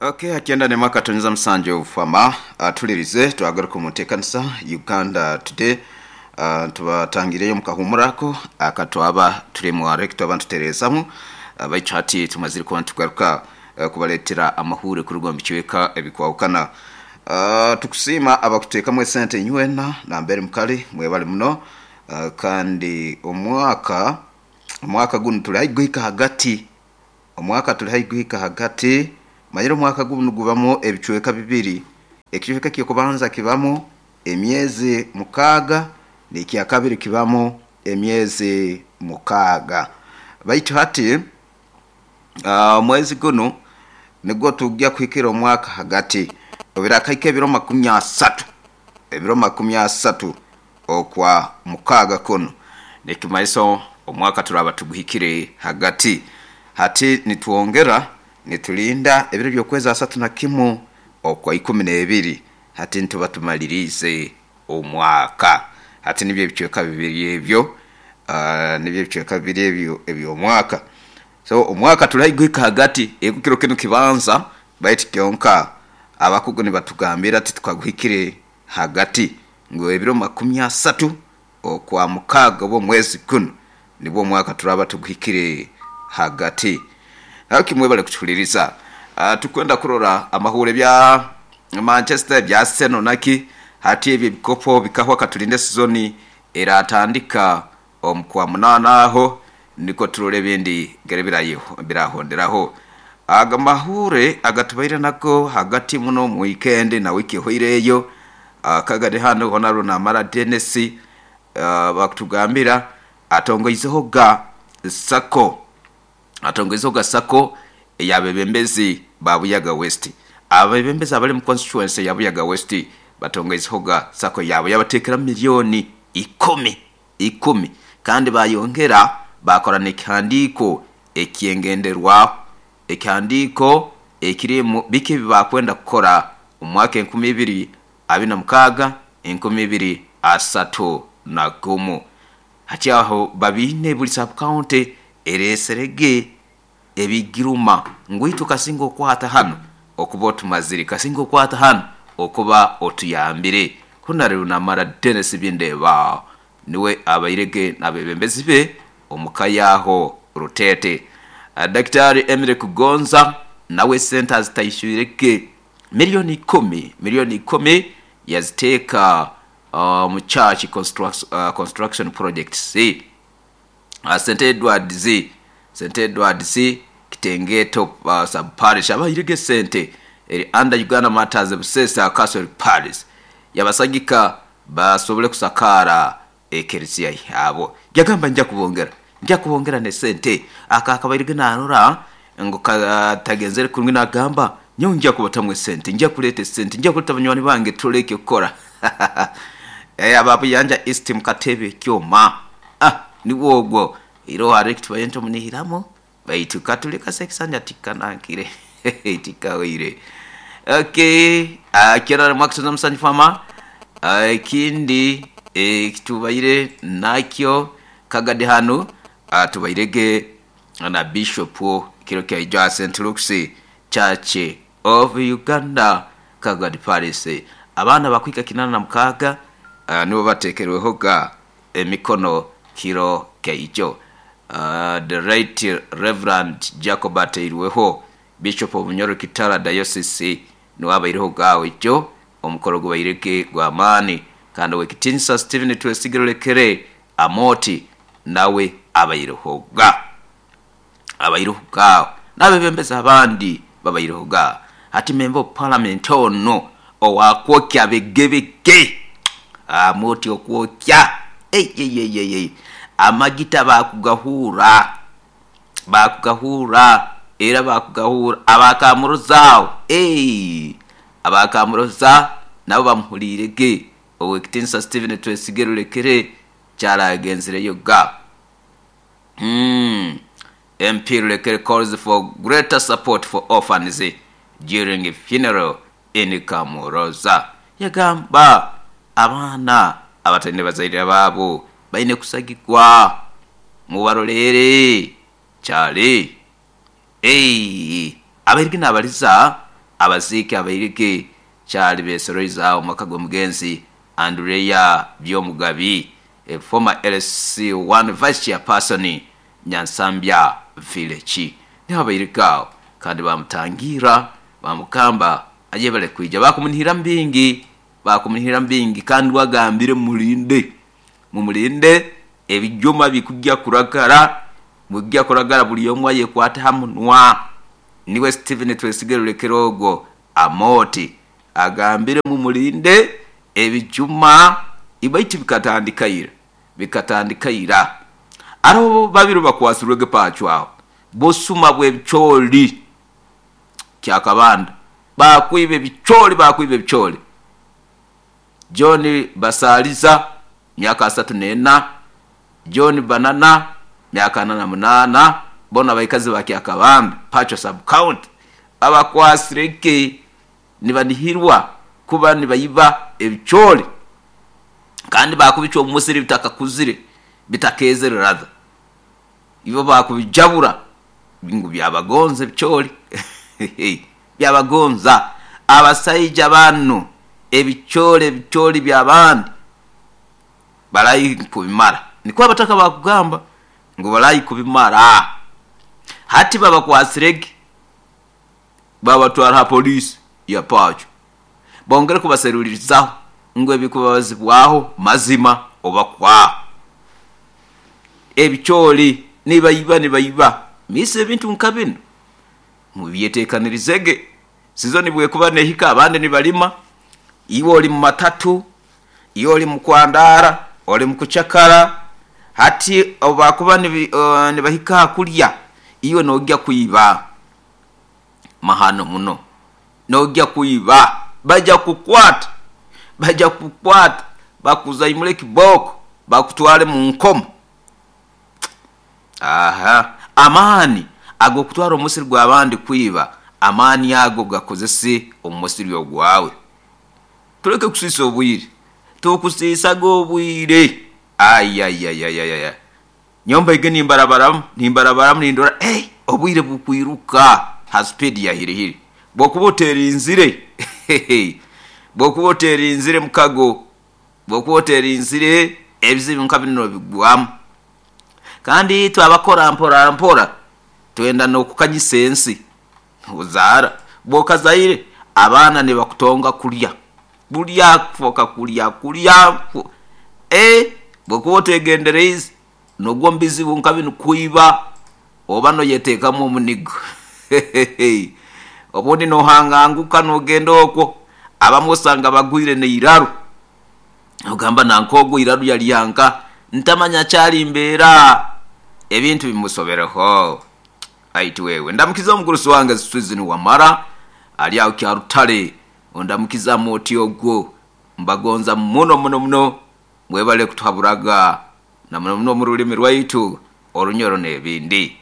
Okay, akyenda ne mwaka tonyeza musanju fama tulirize twagaruka mu nteekanisa Uganda Today. Tubatangireyo mukahumurako akatwaba turi mu rector abantu terezamu baitu hati tumazire kuba nitugaruka kubaleetera amahure kuruga mu bicweka ebikwahukana. Tukusiima abakuteekamu esente inywena nambere mukali mwebale muno. Kandi omwaka gunu tuli haihi guhika hagati, omwaka tuli haihi guhika hagati. Manyire omwaka gunu gubamu ebicweka bibiri, ekicweka eky'okubanza kibamu emyezi 6 n'ekyakabiri kibamu emyezi 6. Baitu hati omwezi gunu nigwo tujja kuhikira omwaka hagati, obirakahika ebiro 30, ebiro 30 okwa mukaaga kunu, nikimanyisa omwaka turaba tuguhikire hagati. Hati nitwongera nitulinda ebiro by'okwezi 31 okwa 12, hati nituba tumaliriize omwaka. Hati nibyo ebicweka bibiri ebyo, nibyo ebicweka bibiri ebyo eby'omwaka. So omwaka tuli haihi guhika hagati, ego kiro kinu kibanza baitu kyonka abakugu nibatugambira titukaguhikire hagati ngu ebiro 30 okwa mukaaga oba omwezi gunu nibwo omwaka turaba tuguhikire hagati. Haki mwebale kutuhuliriza. Tukwenda kurora amahuure ebya Manchester, ebya Arsenal naki hati ebyo ebikopo bikahwa katulinde sizoni eratandika omu kwa munaana aho nikwo turole ebindi ngeri birahonderaho. Aga mahuure agatubaire nago hagati muno omu wiikendi na wiiki ehoireyo, Kagadi hanu Honorable Namara Denis bakutugambira atongoizeho ga sacco, atongoizeho ga sacco ey'abebembezi ba Buyaga West. Abebembezi abali mu constituency ya Buyaga West batongoizeho ga sacco yaabo yabateekeramu milioni ikumi, ikumi, kandi bayongera baakora n'ekihandiiko eky'engenderwaho, ekihandiiko ekirimu biki ebi baakwenda kukora omu mwaka 2026, 2031. Hati aho babiine buli sub-county ereeserege ebigiruma ngu itwe kasinga okwata hanu okuba otumazire, kasinga okwata hanu okuba otuyambire. Honarable Namara Denis Bindeeba niwe abairege n'abebembezi be omu ka yaaho Ruteete. Daktari Emily Kugonza nawe esente azitaishwirege milioni ikumi, milioni ikumi yaziteeka omu Church Construction Projects. St Edwards, St Edwards Kitengeto Sub Parish abairege esente eri under Uganda Martyrs Busesa Catholic Parish yabasagika basobole kusakaara ekereziya yaabo. Yagamba nja kubongera, nja kubongera n'esente. Aka akabairege narora ngu katagenzere kurungi nagamba nyowe nja kubatamu esente, nja kuleeta esente, nja kuleeta banywani bange turole eky'okukora. Aba Buyanja East mukatebe ekyoma. Ah, nigwo ogwo. Iroho hariho ekitubaire nitumunihiramu baitu katuleka Ssekisanja tikanankire tikahweire. Okay, kyona mwakutuza Musanju Farmer. Ekindi ekitubaire nakyo Kagadi hanu tubairege na Bishop kiro kyaija aha St Luke's Church of Uganda Kagadi Parish. Abaana bakuhika 86 nibo batekerweho ga emikono kiro kyaijo. The Right Reverend Jacob Ateirweho, Bishop of Bunyoro Kitara Diocese niwe abaireho gaawo ijo. Omukoro gubairege gwa maani kandi Owekitinisa Stephen Twesigire Olekere Amooti nawe abaireho ga. Abaireho gaawo. N'abebembezi abandi babaireho ga. Hati Member of Parliament ono owa kwokya bigebige! Amooti okwokya! Eyeyeyeye! Amagita baakugahuura, baakugahuura era baakugahuura. Aba Kamuroza agho, eeh! Aba Kamuroza nabo bamuhuliire ge. Owekitinisa Stephen Twesige Rulekere kyaragenzireyo ga. MP Rulekere calls for greater support for orphans during funeral in Kamuroza. Yagamba abaana abataine bazaire baabo baine kusagikwa mubaroleere. Kyali. Eeh! Abairiki nabaliza. Abaziiki abairike kyali besoroize aho maka g'omugenzi Andrea Byomugabi, former LC1 vice chairperson Nyansambya Village. Niho abairike aho kandi bamutangira bamukamba ayebale kwija, bakumunihira mbingi, bakumunihira mbingi, kandi wagambire mumulinde, mumulinde ebijuma bikujja kuragara, bujja kuragara buli omwe ayekwate ha munwa. Niwe Stephen Twesige Rulekero ogwo Amooti agambire mumulinde ebijuma ibaitu bikatandika ira, bikatandika ira. Aroho babiri bakwasirwege pacwaho busuma bw'ebicooli Kyakabanda, bakwiba ebicooli, bakwiba ebicooli. John Basaliza myaka 34, John Banana myaka 48, bona abaikazi ba Kyakabanda Pacho sub county babakwasirege nibanihirwa kuba nibayiba ebicooli kandi bakubicwa omu musiri bitakakuzire, bitakezere rather, ibo bakubijabura ngu byabagonza ebicooli byabagonza. Abasaija banu ebicooli, ebicooli by'abandi barayi kubimara, nikwo abataka bakugamba ngu barayi kubimara. Hati babakwasirege babatwara ha poliisi ya Pacho, bongere kubaserulirizaho ngu ebikubabazibwaho mazima oba kwa ebicooli nibayiba, nibayiba miisa ebintu nka bino mubyetekanirizege. Sizoni bwekuba nehika abandi nibalima, iwe oli mu matatu, iwe oli mu kwandara, oli mu kucakara. Hati obubakuba nibahika ha kulya, iwe nojya kwiba mahano muno, nojya kwiba, bajya kukwata, bajya kukwata, bakuzaimule ekiboko, bakutwale mu nkomo. Aha, amaani ag'okutwara omusiri gw'abandi kwiba, amaani ago gakozese omu musiri ogwawe. Tuleke kusiisa obwire, tukusiisaga obwire. Ayayayayaya, nyomba ige nimbarabaramu, nimbarabaramu nindora, hey, obwire bukwiruka ha speed ya hirihiri. Bwokuba oterinzire, bwokuba oterinzire mukago, bwokuba oterinzire ebizibu nka bino nobigwamu. Kandi twabakora mpora mpora, twenda n'okukanyisa ensi. Ozaara, bwokazaire abaana nibakutonga kulya, bulya kufoka kulya kulya. Bwokuba otegendereize nogwa omu bizibu nka binu kwiba, oba noyeteekamu omunigo. Obundi nohanganguka nogenda okwo, abamu osanga bagwire n'eiraru, ogamba nanka ogwo iraru yalyanka, ntamanya kyali mbeera, ebintu bimusobereho. Aiti wewe, ndamukiza omugurusi wange Susan Wamara, ali aho Kyarutale, ondamukiza Amooti ogwo, mbagonza muno muno muno, mwebale kutuhaburaga na muno muno omu rulimi rwaitu Orunyoro n'ebindi.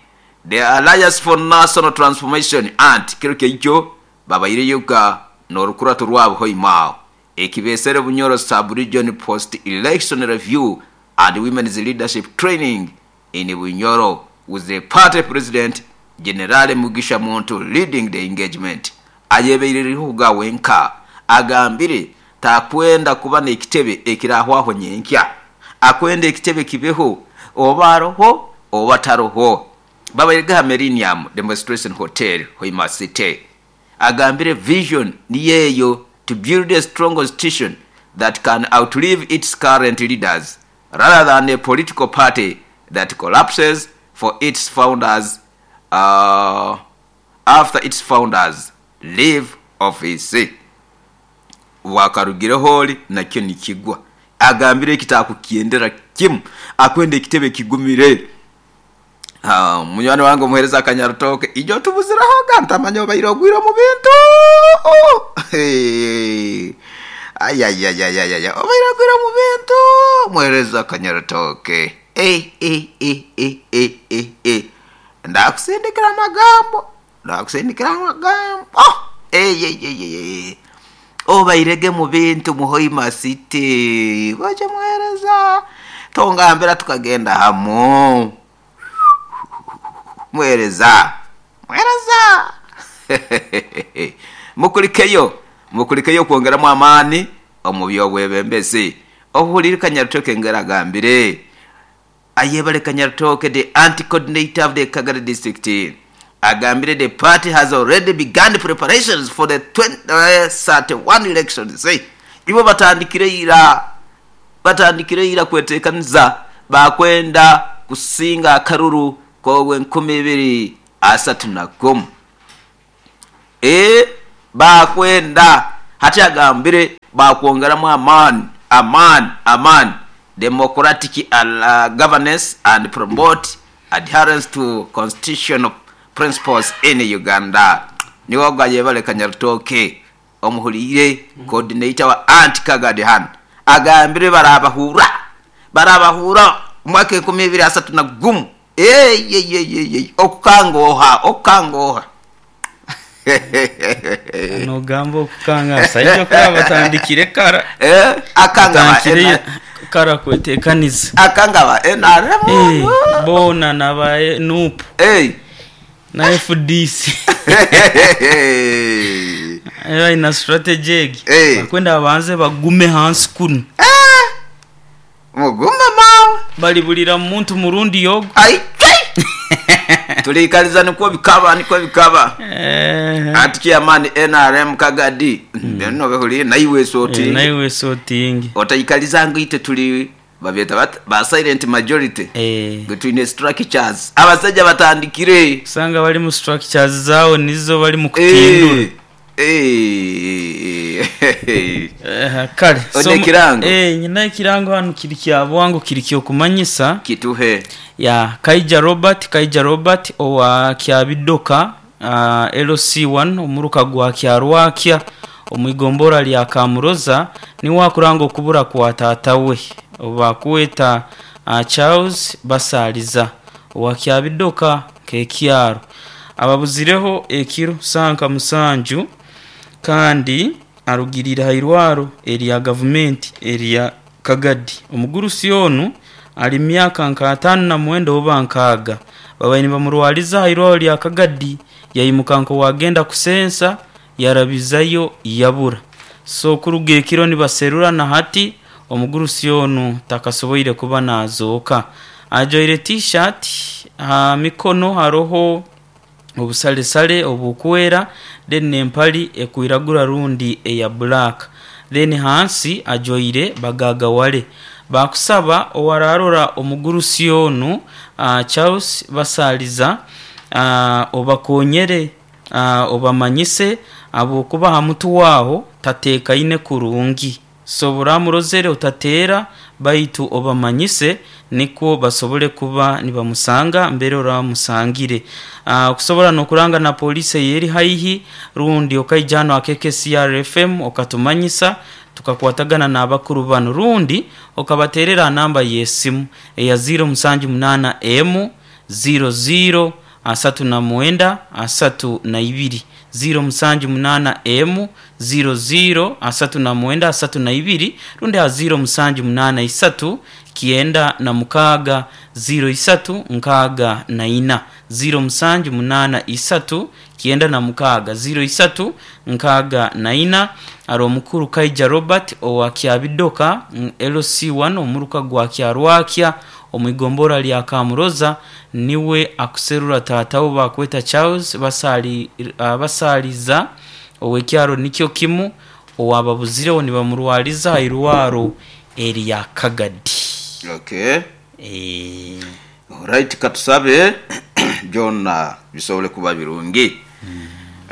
The Alliance for National Transformation, ant, kiro kyaikyo babaireyoga n'orukurato rwabo hoima aho ekibesere Bunyoro Sub-Region Post-Election Review and Women's Leadership Training in Bunyoro with the party president Generale Mugisha Muntu leading the engagement. Ayebeireriho ga wenka agambire takwenda kuba n'ekitebe ekirahwaho nyenkya, akwenda ekitebe kibeho oba aroho oba taroho. Babairege ha Millennium Demonstration Hotel Hoima City. Agambire vision niyo eyo, to build a strong constitution that can outlive its current leaders rather than a political party that collapses for its founders after its founders leave office. Bwakarugireho ori nakyo nikigwa. Agambire eki takukyendera kimu, akwenda ekitebe kigumire. Munywani wange omuhereza Akanyarutooke, ijo otubuzirehoga ntamanya obaire ogwire omu bintu. Ayayayayaya, obaire ogwire omu bintu muhereza Akanyarutooke. Ndakusindikira amagambo, ndakusindikira amagambo. Obairege mu bintu mu Hoima City, goje muhereza, tongambira tukagenda hamu. Muhereza, muhereza. Mukulikeyo, mukulikeyo okwongeramu amaani omu by'obwebembezi. Ohuliire Kanyarutooke ngeri agambire. Ayebare Kanyarutooke the anti coordinator of the Kagadi district agambire the party has already begun preparations for the 2031 elections. Ibo batandikire ira batandikire ira kwetekaniza bakwenda kusinga akaruru k'obwenkumi ibiri asatu na gumu. Eeh baakwenda hati agambire baakwongeramu amaani, amaani, amaani democratic governance and promote adherence to constitutional principles in Uganda. Niiwe ogwo ayebare Kanyarutooke omuhuriire coordinator wa Anti Kagadi hanu agambire barabahuura, barabahuura omwaka 2031. Eeii okukanga oha? Okukanga oha? Nogamba okukanga abasaija kuraba batandikire kara. Eh, akanga ba Batandikire kara kwetekaniza. Akanga ba NRM. Eh, boona naba NUP Eh. na FDC. Balina strategy egi. Eh. Bakwenda babanze bagume hansi kunu. Eh. Mugume maawe. Balibulira muntu murundi ogu. Aitwe! Tuliikaliza nikwo bikaba, nikwo bikaba. Eh. Anti chairman NRM Kagadi, byona obihuliire naiwe esotinge. Naiwe esotinge. Otaikaliza ngu itwe tuli babyeta bata ba silent majority. Eh. Ngu twine structures. Abasaija batandikire. Osanga bali mu structures zaawe nizo bali mu kutindura. Eh. Eh. Kale. Oine ekirango? Eh, nyina ekirango hanu kiri kya bwangu kiri ky'okumanyisa. Kituhe. Ya, Kaija Robert, Kaija Robert owa Kyabidoka LC1 omuruka gwa Kyarwakya omu igombora lya Kamuroza niwe akuranga okubura kwa taata we obubakweta Charles Basaliza owa Kyabidoka nk'ekyaro. Ababuzireho ekiro saaha nka musanju kandi arugiriire aha irwaro erya gavumenti erya Kagadi. Omugurusi onu ari mu myaka nka ataano na mwenda oba nkaaga. Babaire nibamurwariza aha irwaro rya Kagadi yaimuka nk'owagenda kusensa yarabizayo yabura. So kuruga ekiro nibaserura na hati omugurusi onu takasoboire kuba nazooka. Ajwaire T-shirt aha mikono haroho obusalesale obukwera then n'empali ekwiragura rundi eya black. Then hansi ajwaire bagagawale. Bakusaba owararora omugurusi onu Charles Basaliza obakonyere obamanyise ahabwokuba aha mutwe aho tatekaine kurungi. So obu oramurozere otateera baitu obamanyise nikwo basobole kuba nibamusanga mbere oramusangire. Okusobora n'okuranga na poliisi eyeri haihi rundi okaija hanu aha KKCR FM okatumanyisa tukakwatagana n'abakuru banu rundi okabateerera aha namba y'esimu eya ziiro musanju munaana emu ziiro ziiro asatu na mwenda asatu na ibiri, ziiro musanju munaana emu ziiro ziiro asatu na mwenda asatu na ibiri rundi aha ziiro musanju munaana isatu kyenda na mukaaga ziiro isatu nkaaga na ina, ziiro musanju munaana isatu kyenda na mukaaga ziiro isatu nkaaga na ina. Ari omukuru Kaija Robert owa Kyabidoka LC1 omuruka gwa Kyarwakya omu igombora lya Kamuroza niwe akuserura taata we bakweta Charles Basaliza ow'ekyaro nikyo kimu owababuzireho nibamurwariza aha irwaro erya Kagadi. Okay. Eeh. Alright katusabe byona bisobole kuba birungi.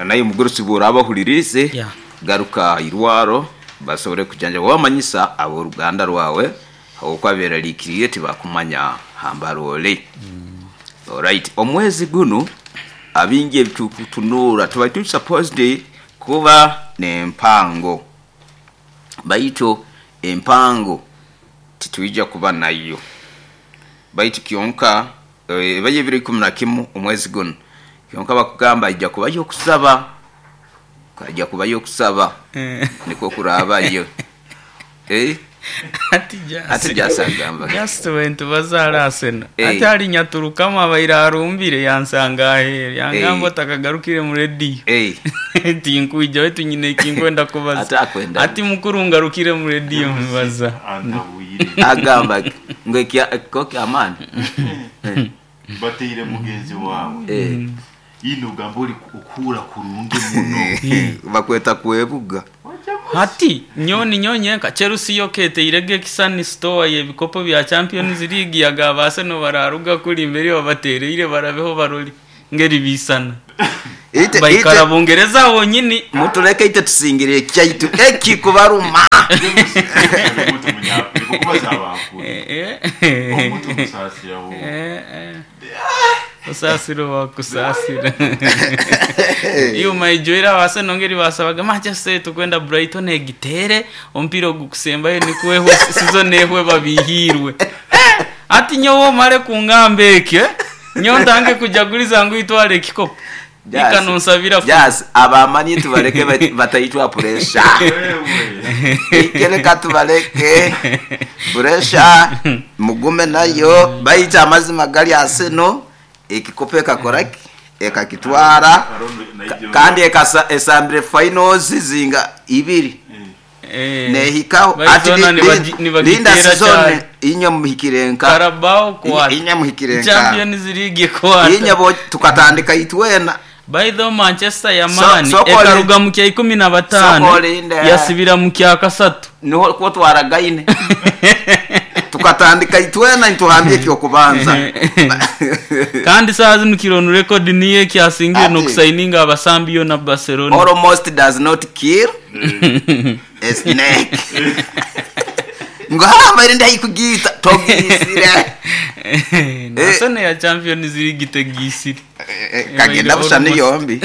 Naye omugurusi bworaba ohuririize Yeah. garuka aha irwaro basobole kujanjaba wamanyisa ab'oruganda rwawe habwokuba berarikiriire tibakumanya hambara ori. Alright, omwezi gunu abingi ebitukutunuura tubaire turi supposed kuba n'empango baitu empango titwija kuba nayo baitu kyonka ebayo ebiro ikumi na kimu omwezi gunu kyonka bakugamba haija kubayo okusaba, haija kubayo okusaba nikwo kuraabayo. Eh? Ati Jasi. Ati Jasi agamba. Jasi we nitubaza Arsenal. Eh. Ati ali nyaturukamu abaire arumbire yansanga aheeru. Yangamba Eh. otakagarukire mu rediyo. Eh. Tinkwija wetu nyine ekinkwenda kubaza. Ati akwenda. Ati mukuru ngarukire mu rediyo mbaza. Antabwire. Agamba ngu ekiko kyamaani. Bateire mugenzi wawe. Eh. Ino ogamba ori okuhura kurungi muno. Bakweta kwebuga. Hati nyoni nyonyenka Chelsea yo keteirege ekisani store y'ebikopo bya Champions League yagaba Arsenal bararuga kuri imbere babatereire barabeho barori ngeri bisana. Ite Baikara ite Bungereza honyini. mutuleke ite tusingire ekyaitu ekikubaruma. Omuntu munyafrika kubaza abakuru. Eh, eh. Omuntu musaasira wo. Eh, eh. Kusasira wakusasira. Iyo maijwera wase nongeri basabaga Manchester tukwenda Brighton egitere ompira ogukusembayo nikuweho season ehwe babihirwe. Eh, ati nyowe mare kungamba ekyo eh? Nyowe ntange kujaguliza ngu itwale ekikopo. Ikanonsabira ku- Yes, abamanyi tubaleke batayitwa pressure. Wewe. Ikereka tubaleke pressure mugume nayo bayita amazima gali Arsenal ekikopo ekakoraki ekakitwara kandi esambire finals zinga ibiri Eh, nehikaho ati Baizona nibagitera linda season cyane. inyo muhikire nka Carabao kwata. Inya muhikire nka Champions League kwata. inyo bo tukatandika itwena. By the way, Manchester yamani So- Sokole- ekaruga mu kya 15 Sokolinde. yasibira mu kya kasatu. Niho kuba twaragaine tukatandika itwena nituhambye ekyokubanza. Kandi saa zino kironu record niyo ekyasingire Ati. n'okusayininga abasambi yo na Barcelona. Almost does not kill a snake. Ngo hamba ndayikugita togisire. Nasone ya Champions League tegisire. Kagenda bushani yombi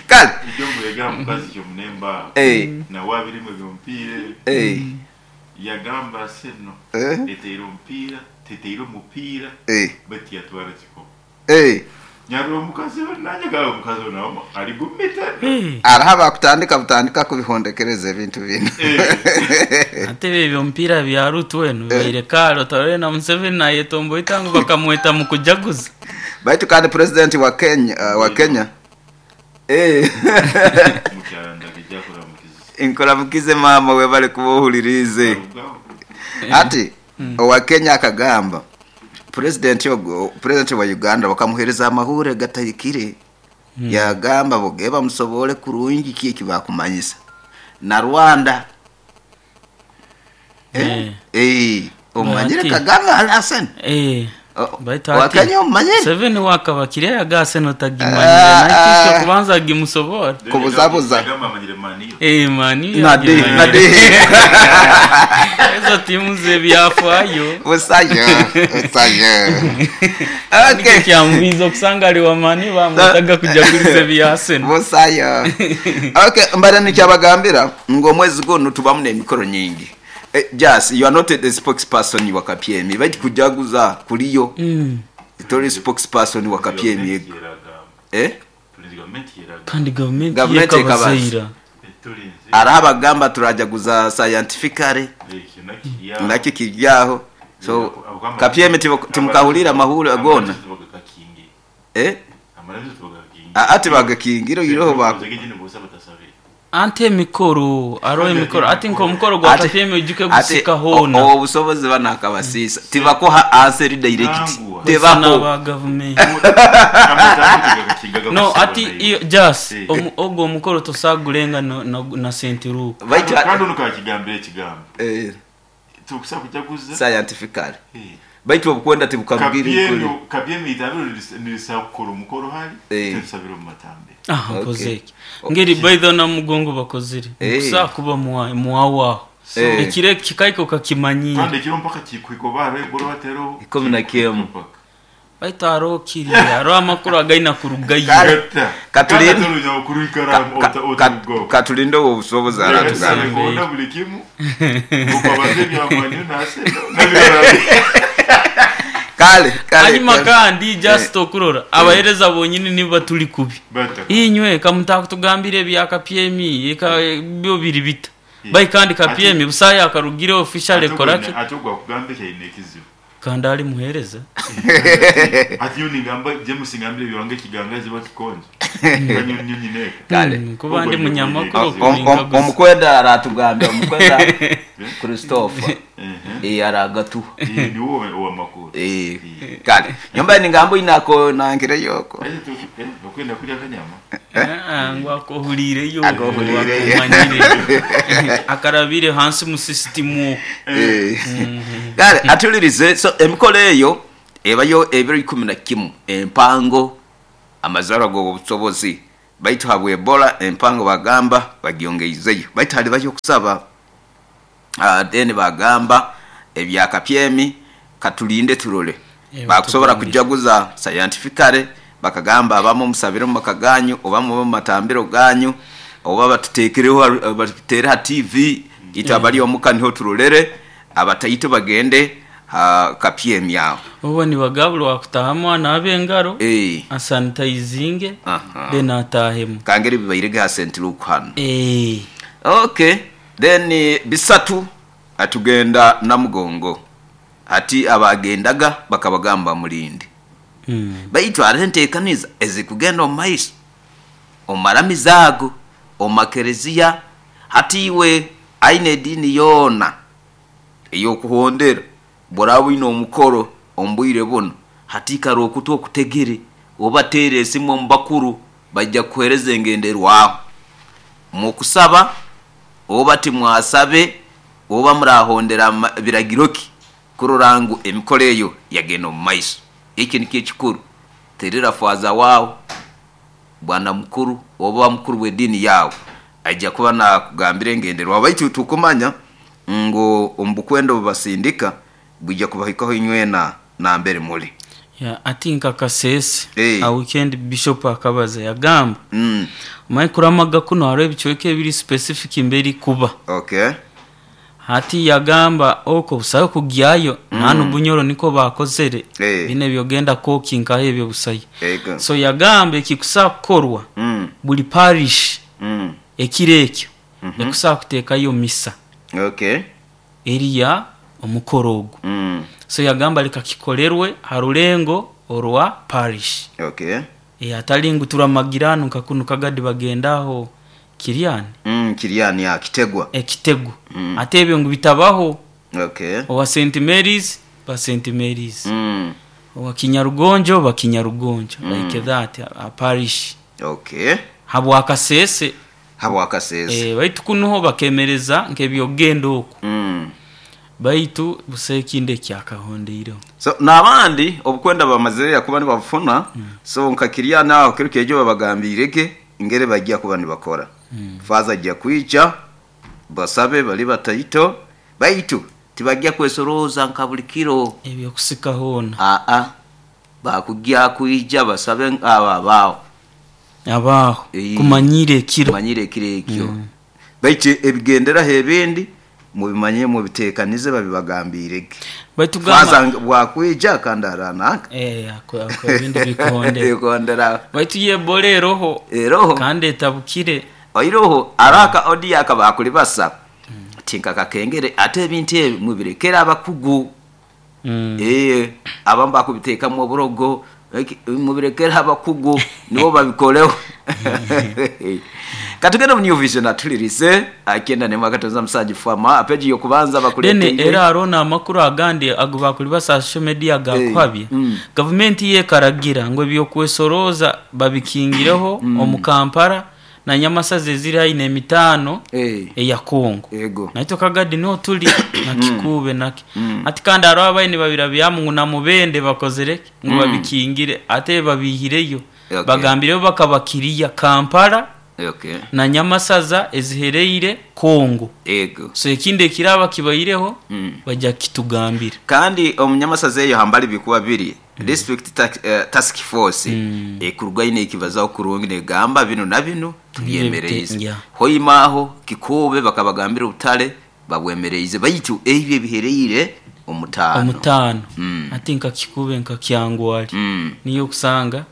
kale. Ibyo mwegera mukazi cyo munemba. Eh. Na wabiri mu by'umupira. Eh. Yagamba Arsenal. Eh. Eteire omupira, teteire omupira. Eh. Bati yatwara kikopo. Eh. Nyarwa omukazi we nanjye gawe omukazi we nawe ari gumita. Araha bakutandika butandika kubihondekereza ebintu bino. Ate ebyo omupiira bya Ruto wenu bibaire kare otarore na Museveni nayetomboita ngu bakamweta mu kujaguza. Baitu kandi president wa Kenya wa Kenya eh Mukyala ndagijja kuramukiza. Inkoramukize mama we bali kubuhulirize. Ati owa Kenya akagamba president ogo president wa Uganda bakamuhereza amahure gatahikire. Yagamba boge bamusobole kurungi ki ekibakumanyisa na Rwanda. Eh, eh, omanyire Ati. Kagame Hassan. Eh. Baitu Owa ati Kenya omanyire. Museveni wakabakire yagase notagimanyire Ah, nakyo ah. kubanza gimusobora. Kubuzabuza. Yagamba amanyire maniyo. Eh mani Nade nade. Ezo timu zebyafaayo. Busayo, busayo. Nikyo Okay. kyamubiza okusanga ali wamani bamwetaga kujaguliza ebya Arsenal. Busayo. Okay, mbara nikyabagambira ngo omwezi guno tubamu n'emikoro nyingi. Eh, Jas, you are not the spokesperson wa KPM. Bait kujaguza kuliyo. Tori spokesperson wa KPM. Eh? Gavumenti yeragamba. Kandi gavumenti Gavumenti yekabazaira. Tulinze. Araha bagamba turajaguza scientifically Ekyo nakiriyaho. nakyo kiryaho. So KPM timukahulira amahuri agona. Eh? Ati bagakingira iroho ba Ante emikoro aro emikoro ati nk'omukoro gwa Ati- KPM ojuke ati gusika hoona. obusobozi banakabasiisa tibakuha answer direct. Nangwa. Tebako. ba gavumenti. No ati iyo just ogwo omukoro tosagulenga no, no, na sentiruko. Baitu kandi ono kakigambira ekigambo eh tukusa kujaguza scientifically. Baitu obukwenda tibukabwira ikuli. kabyemi itambiro nirisa kukora omukoro hari Eh. tusabira omu matambiro. Ah, Okay. nkoze eki. Ngeri baitho na mugongo bakozire. Eh. Kusa kuba muwawaho. Eh. Ekire kikaiko kakimanyire. Kandi ekiro mpaka kikwiko barwegoro batero 11. Baitu aro kiri aro amakuru againa kurugayo. Kale. Katulinde. Katulinde Katulinde obusobozi aratugamba. aratugamba buli kimu ukabaze ebyamanyo naseno nabirala. Kale kale. Hanyuma kale. kandi just okurora abahereza bonyini niba tuli kubi. Bata. Inywe kamutakutugambira ebya KPM eka byo biri bita. Bai kandi kapyemi busaya akarugire official ekoraki Ate ogwo akugamba ekyaine ekizibu. Kandi ali muhereza. Ati nyowe ningamba James ngambire ebyowange ekigangazi oba kikonje. Nyowe nyine eka. Kale. Kuba ndi munyamakuru kuninkaguza. Omukwenda aratugambira, omukwenda Christopher. Aragatuha. Niwe owamakuru. Kale nyomba ningamba inako nangire yoko. Okwenda kulya akanyama. Ngu akohulireyo. Akohulireyo. Akomanyire. Akarabire hansi mu system. Kale atulirize. So emikolo eyo ebayo ebiro 11 empango amazara g'obusobozi baitu habwa Ebola empango bagamba bagyongeizeyo baitu hali bayo okusaba. Then bagamba ebya kapyemi katulinde turole. Bakusobora kujaguza scientifically bakagamba abamu musabire mu maka ganyu oba mu matambiro ganyu oba batutekereho batutere ha TV ita bali omuka niho turolere abataito bagende ha kapyemi aho. Obo nibagabulwa kutahamu anabe engaro asanitizinge then atahemu. Kangeri bibairege ha St. Luke hano. Okay, then bisatu atugenda Namugongo. Ati abagendaga bakabagamba mulinde. Baitu arentekaniza ezikugenda omu maiso omaramizago omakerezia hatiwe aine edini yona eyokuhondera boraba ino omukoro ombwire buno hatikara okutu okutegere obatere esimu omubakuru bajja kuhereza engenderwaho mukusaba oba timwasabe oba murahondera biragiroki kurora ngu emikoro eyo yagenda omu maiso. Eki nikyo ekikuru terera faza wawe bwana mukuru oba mukuru w'edini yawe ajja kuba nakugambira engenderwaho baitu tukumanya ngu omubukwendo bubasindika bwijja kubahikaho inywena nambere muli. Ati nka Kasese a weekend bishop akabaza yagamba maikuramaga kuno hariho ebicweka ebiri specific mberi kuba. Hati yagamba oko busayo kugyayo nanu Bunyoro niko bakozere bine byogenda koki nkaho ebyo busayo. So yagamba ekikusa kukorwa buli parish ekiro ekyo ekusa kuteekayo misa eriya omukoro ogwo. So yagamba leka kikolerwe ha rulengo orwa parish. Atali ngu turamagirano nka kunu kagadi bagendaho Kiriani. Kiriani ya Kitegwa. Ekitegwa. Ate ebyo ngu bitabaho. Owa St. Mary's ba St. Mary's. Owa Kinyarugonjo ba Kinyarugonjo. Like that a parish. Habwa Kasese. Habwa Kasese. Baitu kunuho bakemereza nk'ebyogenda oku. Baitu busekinde kyakahondeireho. So n'abandi obukwenda bamazire kuba nibafuna so nka Kiriani aho kiro kejo babagambirege ingere bajya kuba nibakora. Faza ajya kwica basabe bali bataito baitu tibajya kwesoroza nka buli kiro ebyo kusika hona. Bakujya kuija basabe aba bao abaho kumanyire ekiro kumanyire ekiro ekyo. Baitu ebigendera hebindi mubimanye mubitekanize babibagambirege. Baitu gamba faza bwakwija kandi aranaka ako ebindi bikondera. Baitu yebole roho kandi etabukire oiroho araka odi akabakuli basa tinka kakengere ate ebintu ebi mubirekera abakugu. Abamba kubiteka mu burogo mubirekera abakugu nibo babikoleho. Katugenda mu New Vision atulirize akenda ne mwakatonza musaji fama apeji yokubanza bakulete dene era arona amakuru agandi agubakuli basa social media gakwabye. Government ye karagira ngo ebyokwesoroza babikingireho omu Kampala na Nyamasazi eziri haine emitano eya Kongo. Naito kagadi no tuli na Kikube naki. Ati kandi aro abaini babira byamu na mubende bakozereke ngo babikingire ate babihireyo. Bagambireyo bakabakiriya Kampala na Nyamasaza ezihereire Kongo. So ekindi ekiraba kibaireho bajja kitugambira. Kandi omunyamasaza eyo hambali bikuba biri district task force ekurwaine ekibazaho kurungi negamba bino na bino tubyemereize. Hoimaho Kikube bakabagambira obutale babwemereize baitu ebyo bihereire omutano. Ati nka Kikube nka Kyangwali niyo kusanga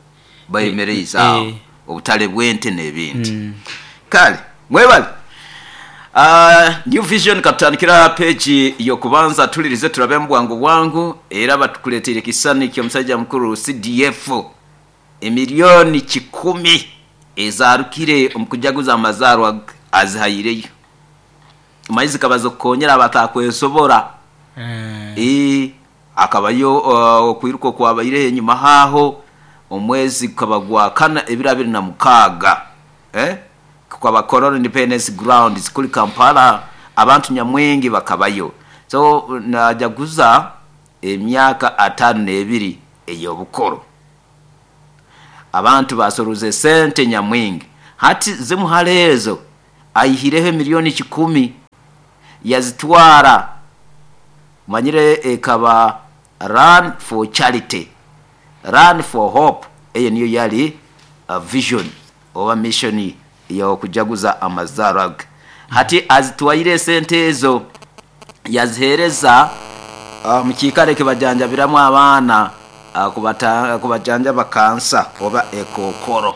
bayemereize aho obutale bwente n'ebindi. Kale mwebale. New Vision katutandikira page y'okubanza, tulirize turabe mu bwangu bwangu. Era batukuleteire ekisani ky'omusajja mukuru CDF, emiliyoni 100 ezarukire omu kujaguza amazaarwa azihaireyo. Maizi kabaza okukonyera abatakwesobora. Akabayo okwiruka okwabaireho enyuma haaho omwezi gukaba gwa kana ebiro 26, kukaba Kololo Independence Grounds kuli Kampala, abantu nyamwingi bakabayo. So najaguza emyaka 52 ey'obukuru. Abantu basoroze esente nyamwingi. Hati zimu hali ezo aihireho emiliyoni 100 yazitwara, manyire ekaba Run for Charity, Run for Hope, eyo niyo yali vision oba mission y'okujaguza amazaarwa ge. Hati azitwaire esente ezo yaziheereza mu kiikaro ekibajanjabiramu abaana, kubajanjaba kansa oba ekookoro.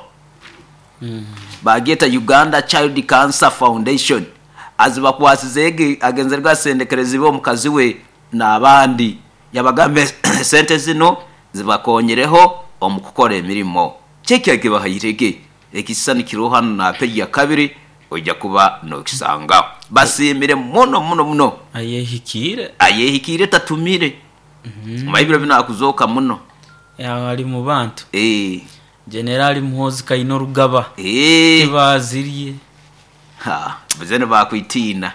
Bagyeta Uganda Child Cancer Foundation. Azibakwasize egi agenzerege asendekerezibwe omukazi we n'abandi, yabagamba esente zino zibakonyereho omu kukora emirimo. Kyeki ekibahairege ekisisani kiroho hanu na peji ya kabiri, ojja kuba nokisangaho. Basiimire muno muno muno. Ayehikiire. Ayehikiire tatumire. Maibiro bino akuzooka muno. Ali mu bantu. Generali Muhoozi Kainerugaba. Tibazirye. Ha, zeno bakwitiina.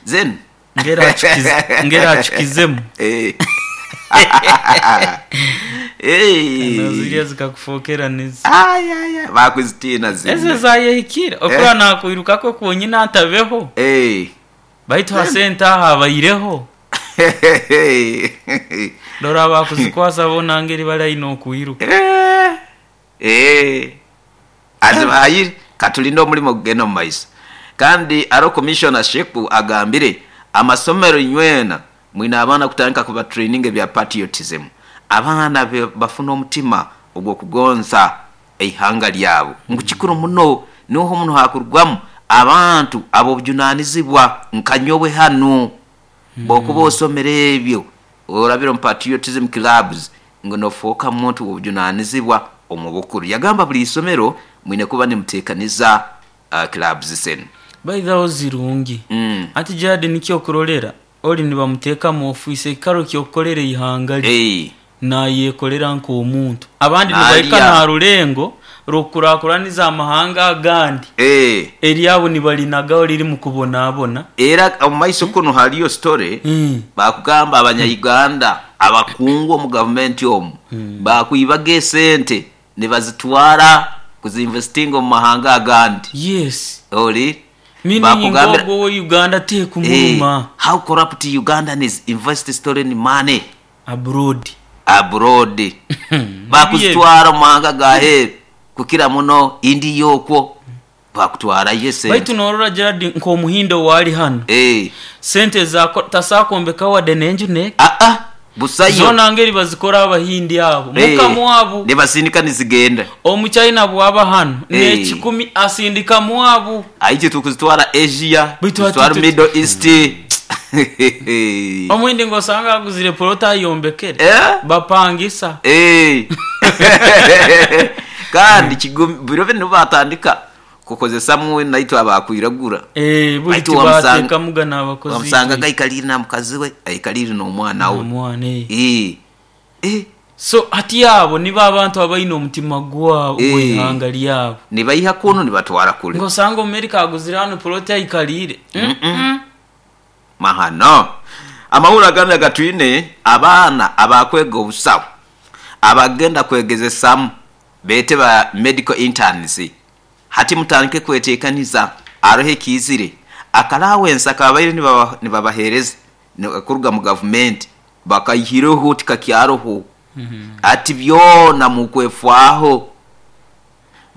Zeno. Ngera achukizemu. Zirya zikakufokera nizi. Ay ay ay, bakwitiina zino. Ezo zayehikire. Okura nakwirukako kwonyina atabeho. Baitu hasente aha abaireho. Dora bakuzikwasa bona ngeri bali aina okwiruka. Azibahaire katulinde omulimo gugenda omu maiso. Kandi aro Commissioner Sheku agambire amasomero inywena mwine abaana kutandika kuba training ebya patriotism. Abaana bafuna omutima ogw'okugonza eihanga lyabo. Ngu kikuru muno niho muno hakurugwamu abantu ab'obujunanizibwa nka nyowe hanu. Bw'okuba osomere ebyo orabire omu patriotism clubs ngu nofooka muntu w'obujunanizibwa omu bukuru. Yagamba buli isomero mwine kuba nimuteekaniza clubs zenu. Baithaho zirungi. Anti Gerald nikyo okurolera oli nibamuteeka mu ofiisi ekikaro ky'okukolera eihanga lye. Nayekolera nk'omuntu. Abandi nibaika na rulengo rw'okukurakuraniza amahanga agandi. Eryabo nibalinagaho riri mu kubonabona. Era omu maiso kuno haliyo story bakugamba abanya-Uganda abakungu omu gavumenti omu bakwibaga esente nibazitwara kuzinvestinga omu mahanga agandi. Yes. Oli Meaning ng'ogwo owe Uganda tekumuruma. How corrupt Ugandans invest stolen money abroad. Abroad. Bakuzitwara omu mahanga gaheeru kukira muno India okwo bakutwarayo esente. Baitu norora Gerald nk'omuhindo owali hanu. Sente za tasakombeka wadde n'enju ne. Busayo. Zona ngeri bazikora abahindi abo. Muka mwabu. Nibasindika nizigenda. Omuchina bwaba hanu n'ekikumi asindika mwabu. Aiche tukuzitwara Asia, tukuzitwara Middle East. Omuhindi ngosanga aguzire polota ayombekere. Bapangisa. Kandi biro bino batandika kukozesamu naitwe abakwiragura. Buli tibateka mugana abakozi. Wamusanga aikalire na mukazi we, aikalire n'omwana we. Omwana. So hati abo nibo abantu abaine omutima gwabo gw'eihanga lyabo. Nibaiha kuno nibatwara kule. Ngosanga Amerika aguzire hano polota aikalire. Mahano. Amahura agandi agatwine abaana abakwega obusawo abagenda kwegezesamu bete ba medical interns. Hati mutandike kwetekaniza aroho ekizire akalawensa akabaire nibabahereza kuruga mu gavumenti bakayihireho tikakyaroho. Ati byona mukwefwaho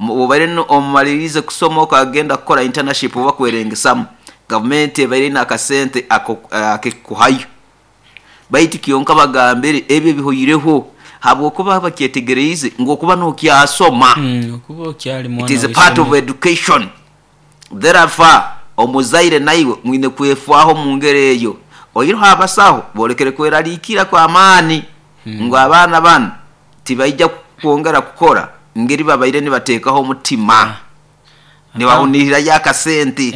obaire omumalirize kusoma okagenda kukora internship oba kwerengesamu gavumenti ebaire n'akasente akekuhayo. Baitu kyonka bagambire ebyo bihoireho habwokuba bakyetegereize ngu okuba nokyasoma. Okuba okyali mwana It is a part of education. Therefore Omuzaire naiwe mwine kwefwaho mu ngeri eyo. Oihireho abasaho boolekere kweraliikirra kw'amaani ngu abaana banu tibaija kwongera kukora ngeri babaire nibateekaho omutima, nibahunirrayo akasente.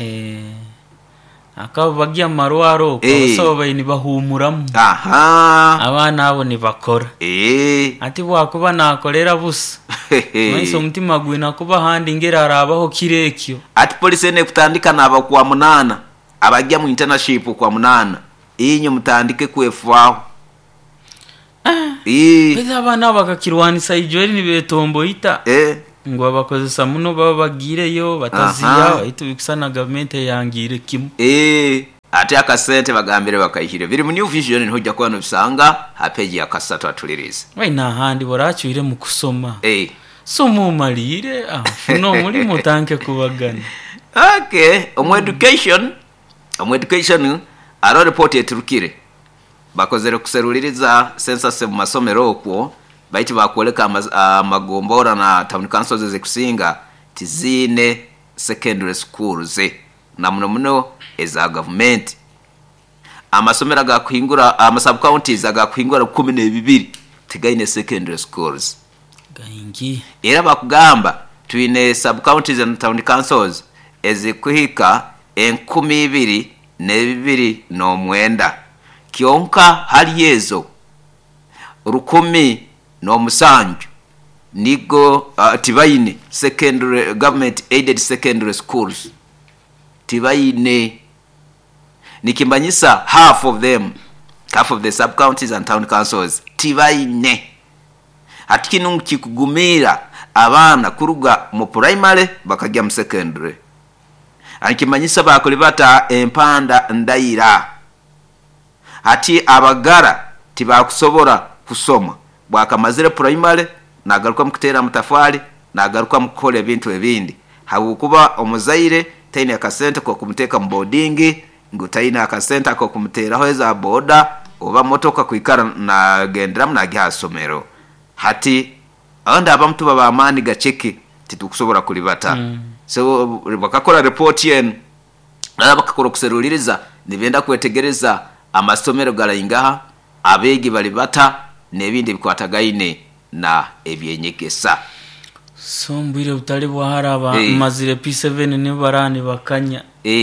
Akaba bagya mu marwaro okwo, abasaho babaire nibahuumuramu. Abaana abo nibakora. Ati bwakuba naakorera busa, manyisa omutima gwine kuba ahandi ngeri araabaho kiro ekyo. Ati polisi enu ekutandika naaba kwa munaana, abagya mu internship kwa munaana, inywe mutandike kwefaaho. Baitu abaana abo bakakirwanisa ijo eri nibetomboita ngu babakozesa muno baba bagiireyo bataziiha baitu bikusana gavumenti eyangiire kimu. Ate akasente bagambire bakaihire. Biri mu New Vision niho oja kuba nobisanga ha page ya kasatu atulirize. Waine ahandi bw'oracwiremu kusoma, soma omaliire, funa omulimo otandike kubagana. Okay, omu education, omu education haroho report eturukire. Bakozere kuseruliriza census omu masomero okwo baitu bakwoleka amagombora na town councils ezikusinga tiziine secondary schools na muno muno eza gavumenti. Amasomero agakuhingura, ama sub counties agakuhingura 12 tigaine secondary schools. Gaingi. Era bakugamba twine sub counties and town councils ezikuhika 2029 kyonka hali ezo 1,007 nigo tibaine secondary, government aided secondary schools tibaine. Nikimanyisa half of them, half of the sub counties and town councils tibaine. Hati kinu nikikugumiira abaana kuruga mu primary bakagya mu secondary. Nikimanyisa baakulibata empanda ndaira. Hati abagara tibakusobora kusoma. Bwakamazire primary nagaruka mu kuteera amatafaali, nagaruka mu kukora ebintu ebindi. Habwokuba omuzaire taine akasente k'okumuteeka mu boodingi, ngu taine akasente ak'okumuteeraho eza boda oba motoka kwikara nagenderamu nagiha ha isomero. Hati abandi abamu tuba b'amaani gaceke titukusobora kulibata. So bakakora ripooti enu nabo bakakora okuseruliiriza nibenda kwetegereza amasomero garaingaha, abeegi bali bata n'ebindi ebikwatagaine na eby'enyegesa. So omu bwire butali bwa hara abamazire P7 nibo baraba nibakanya.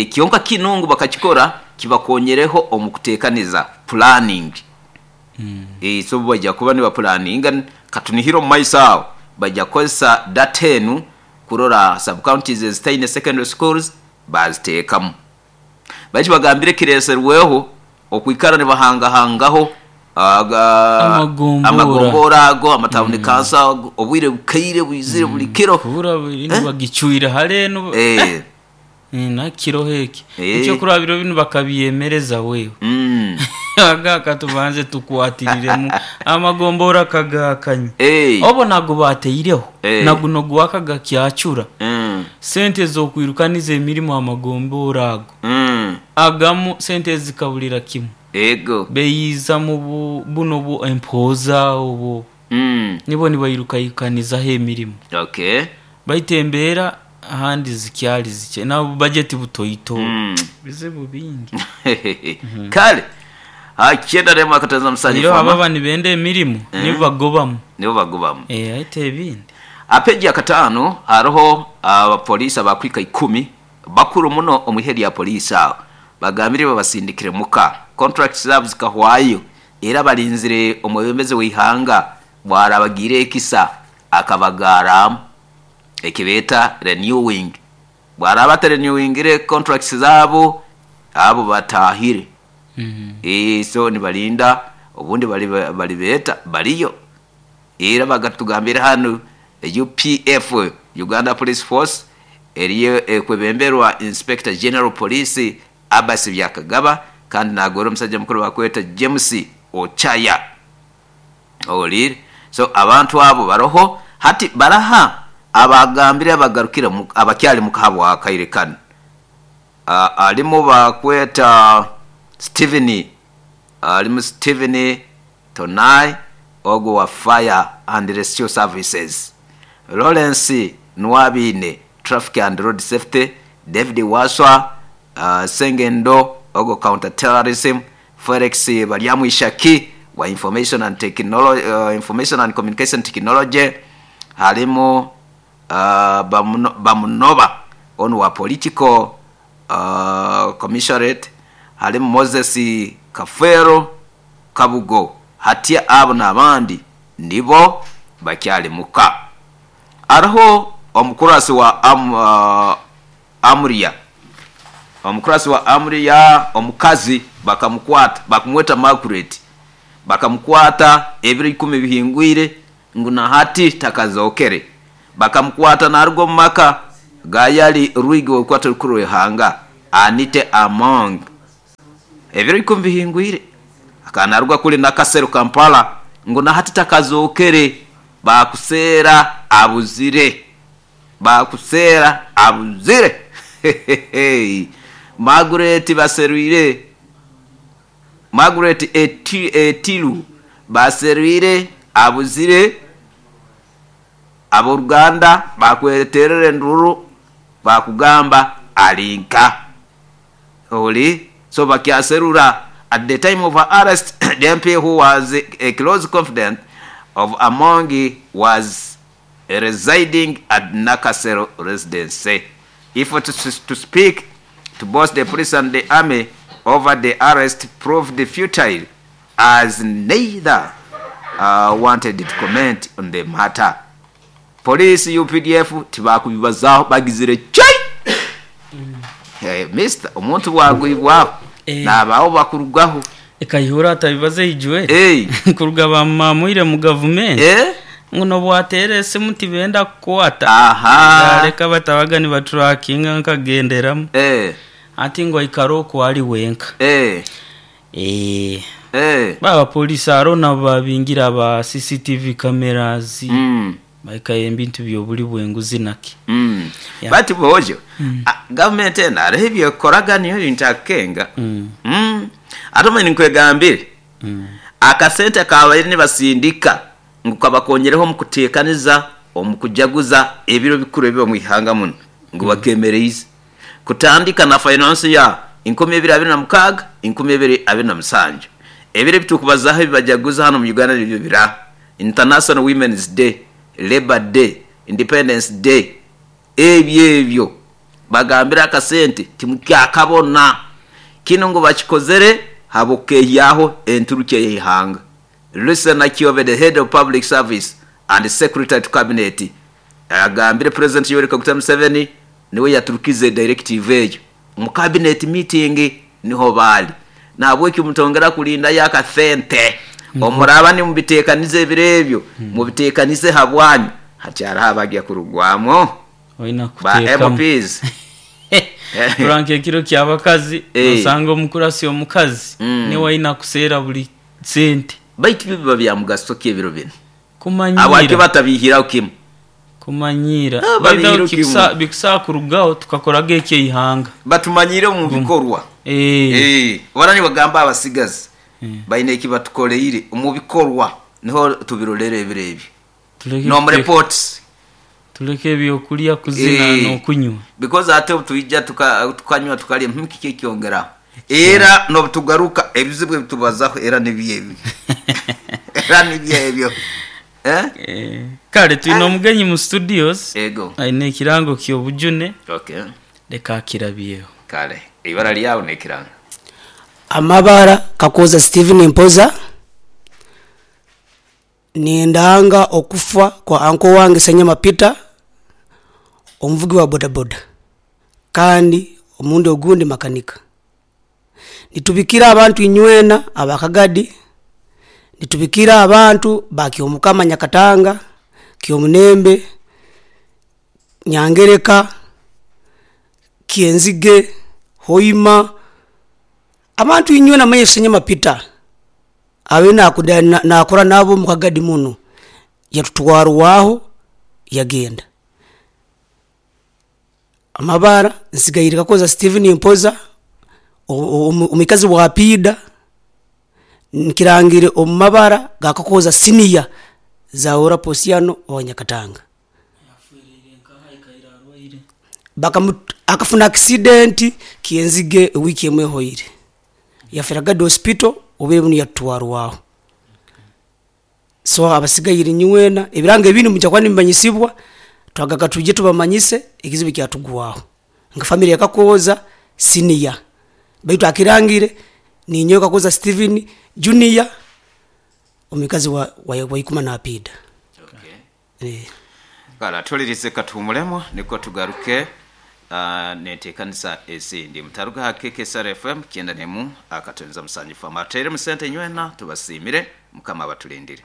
Kyonka kinu ngu bakakikora kibakonyereho omu kutekaniza, planning. So baija kuba nibapulaninga, katunihire omu maiso aho baija kukozesa data enu kurora sub counties ezitaine secondary schools baaziteekamu. Baitu bagambire kireeserweho okwikara nibahangahangaho amagomboora ago, amatawuni kanso ago, obwire bukaire bwizire buli kiro. Kubura binu bagicwire hare enu nakiroho eki. Ekyokurora biro binu bakabyemereza wewe. Aga katubanze tukwatiriremu amagomboora kagakanya. Obo nago bateireho naguno gwaka gakyacura. Sente ez'okwirukaniza emirimo amagomboora ago agamu sente ezi zikaburira kimwe. Beyiiza mu buno bu empooza obwo nibo nibairukaikanizaho emirimo. Baitu embeera ahandi zikyali zikye na bajeti butoito. Bizibu bingi. Kale hakyenda n'emwe akatanza musanju Iroho fama. ababa nibenda emirimo nibo bagobamu. Nibo bagobamu. Aite ebindi. Ha peegi ya kataano haroho abapoliisi abakuhika ikumi bakuru muno omu ihe lya poliisi aho bagambire babasindikire muka. Contracts zaabo zikahwayo era barinzire omwebembezi w'eihanga bwarabagiire ekisa akabagaaramu eki beeta renewing. Bwaraaba atarenewingire contracts zaabo, abo bataahire. So nibarinda obundi baribeeta bariyo. Era bagatugambire hanu UPF, Uganda Police Force, eriyo ekwebemberwa Inspector General Police Abas Byakagaba kandi nagora omusaija mukuru bakweta James Ochaya. Ohuriire? So abantu abo baroho hati baraha abagambire abagarukire abakyali muka habw'akaire kanu. Alimu bakweta Steven, alimu Steven Tonai ogu owa Fire and Rescue Services, Lawrence Nuwabiine, Traffic and Road Safety, David Waswa, Sengendo ogo counter terrorism, Felix Baryamwishaki wa information and technology, information and communication technology, harimu Bamunoba onu wa political commissionerate, harimu Moses Kafeero Kabugo. Hatya abo n'abandi nibo bakyali muka. Hariho omukurasi wa Amuria, omukurasi wa Amuria omukazi bakamukwata, bakumweta Margaret, bakamukwata ebiro 10 bihingwire ngu na hati takazookere. Bakamukwata naruga omu maka gayali Rwigi w'orukwata rukuru rw'eihanga Anite Among ebiro 10 bihingwire, akaba naruga kuri Nakasero Kampala ngu na hati takazookere, bakuseera abuzire, bakuseera abuzire. Margaret baserwire, Margaret Etiru baserwire abuzire, ab'oruganda bakweterera enduru bakugamba alinka oli so bakyaserura. At the time of her arrest, the MP who was a close confidant of Amongi was residing at Nakasero residency. If to speak to both the police and the army over the arrest proved futile, as neither wanted to comment on the matter. Police UPDF tibakubibazaho, bagizire chai. Hey, mister, omuntu bwagwibwaho nabaho bakurugaho. Ekayihura atabibaze ijwe. Kuruga bamamwire mu government. Nguno bwatere esimu tibenda kukwata. Leka batabaga ni baturakinga nkagenderamu. Ati ngo ikaro ko ali wenka. Baba polisi arona babingira ba CCTV cameras. Baikaye ebintu byobuli bwenguzi naki. Bati bojo. Government ena arehebye koraga niyo ntakenga. Atoma ninkwegambire. Akasente kabaire nibasindika ngu kabakonyereho mu kuteekaniza omu kujaguza ebiro bikuru ebiba mu ihanga muno ngu bakemereize kutandika na finance ya 2026 2027. Ebiro bitukubazaho ebibajaguza hano mu Uganda nibyo bira International Women's Day, Labor Day, Independence Day. Ebyo ebyo bagambira akasente timukyakabona kino ngu bakikozere habukehyaho enturuke y'ihanga. Lucy Nakyobe, the head of public service and secretary to cabinet, agambire President Yoweri Kaguta Museveni niwe yaturukize directive eyo mu cabinet meeting niho bali nabweki mutongera kulinda yakasente omuraba ni mubitekanize ebirebyo mubitekanize habwanyu hacyara habagiye kurugwamo oina ba kuteekamu. MPs. Turanke ekiro ky'abakazi osanga omukurasi omukazi niwe aina kuseera buli sente. Baitu biba bya mugaso ky'ebiro bino Kumanyira. Abaki batabihiraho kimwe. Kumanyira. Babihiraho Baitu kimwe. bikusa kurugaho tukakoraga eky'eihanga. Batumanyire mu bikorwa. Barani bagamba abasigazi baine ekibatukoleire mu bikorwa niho tubirolere ebiro ebyo. No reports. Tuleke ebyokulya kuzina n'okunywa. Because ate tuija tukanywa tukalya kiki kyongera. Era no tugaruka ebizibu ebitubazaho era nibyebi. Era nibyebyo. Kale tulina omugenyi mu studios. Ego. Aine ekirango ky'obujune. Okay. Leka akirabyeho. Kale ibara lyawo n'ekirango. Amabara Kakoza Steven Mpoza. Nindanga okufa kwa anko wange Senyama Peter, omuvugi wa bodaboda kandi omundi ogundi makanika. Nitubikira abantu inywena abakagadi, nitubikira abantu ba Kyomukama Nyakatanga, Kyomunembe, Nyangereka, Kyenzige, Hoima, abantu inywena manye Senyama Peter abe nakora nabo mu kagadi muno, yatutwarwaho yagenda. Amabara nsigaire Kakoza Steven Mpoza, omukazi wa Pida, nkirangire omu mabara ga Kakoza senior za Ora Posiano wa Nyakatanga. Akafuna accident Kyenzige ewiiki emwe ehoire. Yafera Gadi Hospital, obwire bunu yatutwarwaho. So abasigaire nywena, ebirango ebindi nimwija kuba nimumanyisibwa, twagaga twije tubamanyise ekizibu ekyatugwaho. Nka famire ya Kakooza senior, baitu akirangire ninyowe Kakooza Steven Junior, omukazi wa Waikuma na Apida. Okay. Kale atulirize katuhumulemu niko tugaruke nentekanisa ezindi. Mutaruga ha KKSR FM 91.7 FM. Ateeremu sente nywena tubasimire, Mukama abatulindire.